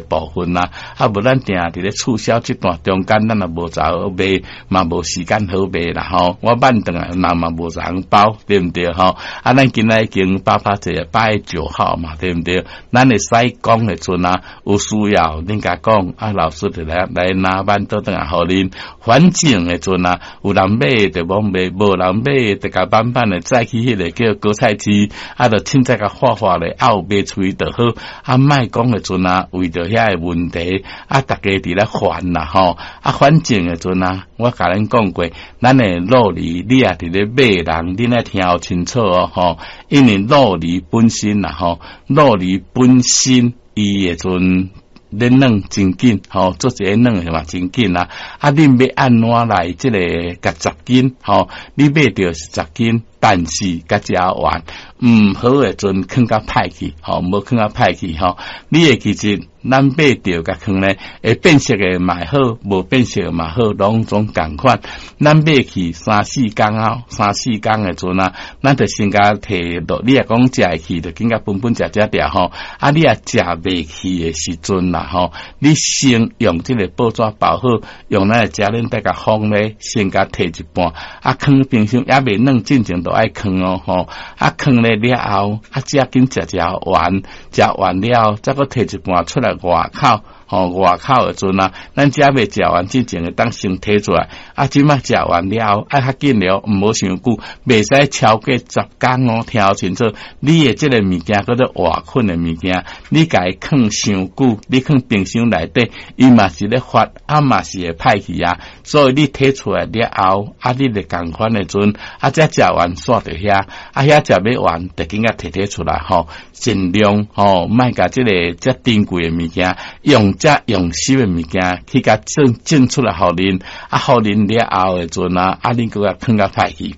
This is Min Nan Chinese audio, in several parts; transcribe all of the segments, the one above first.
部分啦，啊無咱定佇咧促銷這段中間，咱也無才好賣，嘛無時間好賣啦吼。我慢轉來，人嘛無人包，對毋對吼？啊，咱今仔已經八八節8月9號嘛，對毋對？咱會使講的陣啊，有需要恁共講，啊，老師就來來拿辦倒轉來予恁。反正的陣啊，有人買就罔賣，無人買就共慢慢的載去彼个叫果菜市，啊，就凊彩共畫畫咧，啊有賣出去就好。啊，莫講的陣啊，為著遐个問題，啊，逐家佇咧煩啦吼。啊，反正的陣啊，我共恁講過，咱的酪梨，你也佇咧買人，恁愛聽清楚哦吼。因為酪梨本身啦吼，酪梨本身伊的陣咧軟真緊吼，做一个軟的嘛真緊啊。啊，恁欲按怎來這个共10斤吼？你買著是十斤，但是共食完毋好的陣囥較歹去吼，無囥較歹去吼。你會記得咱買著共囥咧，會變色的嘛好，無變色的嘛好，攏總仝款。咱買去三四工後，三四工的陣啊，咱就先共提落。你若講食會去，就緊共分分食食掉吼。啊，你若食袂去的時陣啦吼，你先用這个報紙包好，用咱的夾鏈袋共封咧，先共提一半。啊，囥冰箱猶未軟，進前都愛囥哦吼。啊，囥咧了後，啊，才緊食食完，食完了，再閣提一半出來外口。吼，外口的陣啊，咱遮未食完之前會當先提出來。啊，這擺食完了後，愛較緊了，毋好傷久，袂使超過10工哦。聽清楚，你的這个物件叫做活菌的物件，你共伊囥傷久，你囥冰箱內底，伊嘛是咧發，啊嘛是會歹去啊。所以你提出來了後，啊，你就仝款的陣，啊，才食完煞佇遐，啊，遐食欲完，就緊共提提出來吼，盡量吼，莫共這个遮珍貴的物件用。遮用心的物件去共種種出來，予恁，啊，予恁了後的陣啊，啊，恁閣共囥較歹去。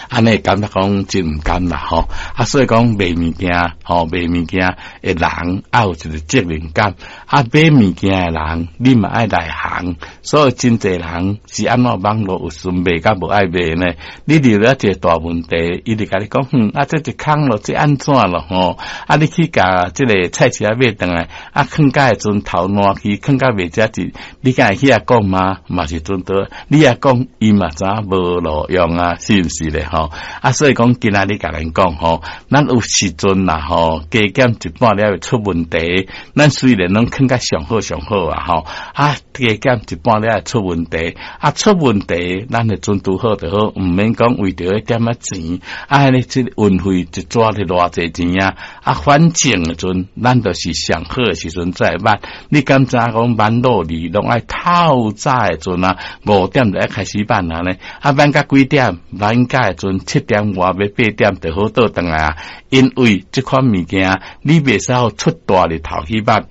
按呢感覺講真毋甘啦吼，啊，所以講賣物件吼，賣物件的人愛有一個責任感，啊，買物件的人你嘛愛內行，所以真濟人是按怎網路有時賣甲無愛賣呢？你遇著一個大問題，伊就共你講，哼，啊，這一空咯，這按怎咯吼？啊，你去共這个菜市仔買轉來，啊，囥甲的陣頭爛去，囥甲袂食一，你敢會去遐講嗎？嘛是陣多，你若講伊嘛知影無路用啊，是毋是咧？吼啊，所以講今仔日共恁講吼，咱有時陣啦吼，加減一半了會出問題。咱雖然攏囥較上好上好啊吼，啊加減一半了會出問題，啊出問題，咱會陣拄好就好，毋免講為著彼點仔錢，啊，彼個這運費一逝就偌濟錢啊，啊反正的陣，咱就是上好的時陣再買。你敢知影講挽酪梨攏愛透早的陣啊，5點就愛開始挽啊呢？啊挽到幾點？挽到的陣7點外欲8點就好倒轉來啊。因為這款物件，你袂使予出大日頭去挽，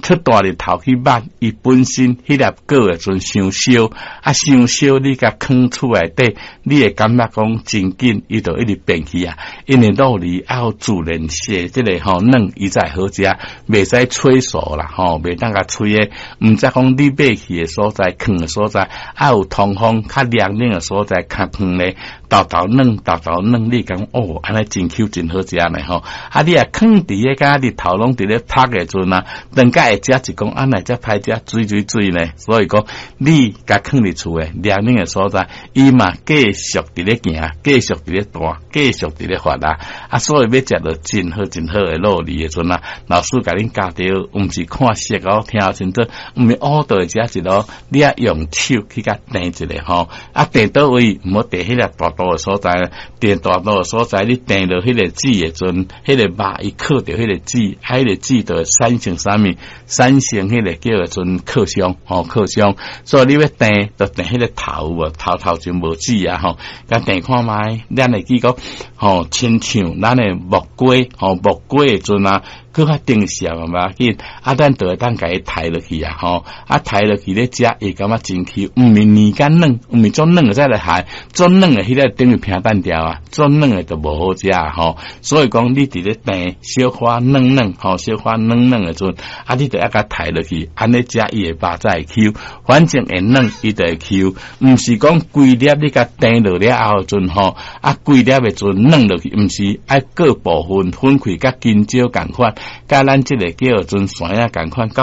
出大日頭去挽，伊本身彼粒果的陣傷燒，啊傷燒，你共囥厝內底，你會感覺講真緊，伊就一直變去啊。因為酪梨愛予自然雪這个吼軟，伊才會好食，袂使催熟啦吼，袂當共催的。毋知講你買去的所在，囥的所在，愛有通風、較涼冷的所在，較囥咧，沓沓軟，沓沓軟，你講哦，按呢真 Q 真好食呢吼。啊，你若囥佇咧，敢日頭攏佇咧曬的陣啊，轉甲會食一講，啊，若遮歹食，水水水呢。所以講，你共囥佇厝的涼冷的所在，伊嘛繼續佇咧行，繼續佇咧彈，繼續佇咧發啊。啊，所以欲食著真好真好的酪梨的陣啊，老師共恁教著，毋是看色哦，聽清楚，毋是烏到食一囉，你愛用手去共掂一下吼，啊，掂佗位，毋好掂彼个大肚的所在，掂大肚的所在，你掂落彼个籽的陣，彼个肉伊囥著彼个籽，啊，彼个籽就會產生啥物？產生彼个叫做囥傷，吼，囥傷。所以你欲掂，就掂彼个頭無，頭頭前無籽啊，吼，共掂看覓，咱會記講，吼，親像咱的木瓜，吼，木瓜的陣啊，閣較成熟嘛，無要緊，啊，咱就會當共伊刣落去啊，吼，啊，刣落去咧食，會感覺真 Q，毋是膩甲軟，毋是足軟的才來刣，足軟的彼个等於平淡掉啊，足軟的就無好食吼。所以講，你佇咧掂小可軟軟，吼，小可軟軟的陣，啊，你就愛共刣落去，按呢食伊的肉才會 Q，反正會軟，伊就會 Q，毋是講規粒你共掂落了後陣吼，啊，規粒的陣軟落去，毋是愛各部分分開，佮筋椒仝款。佮咱這个叫做山仔仝款，較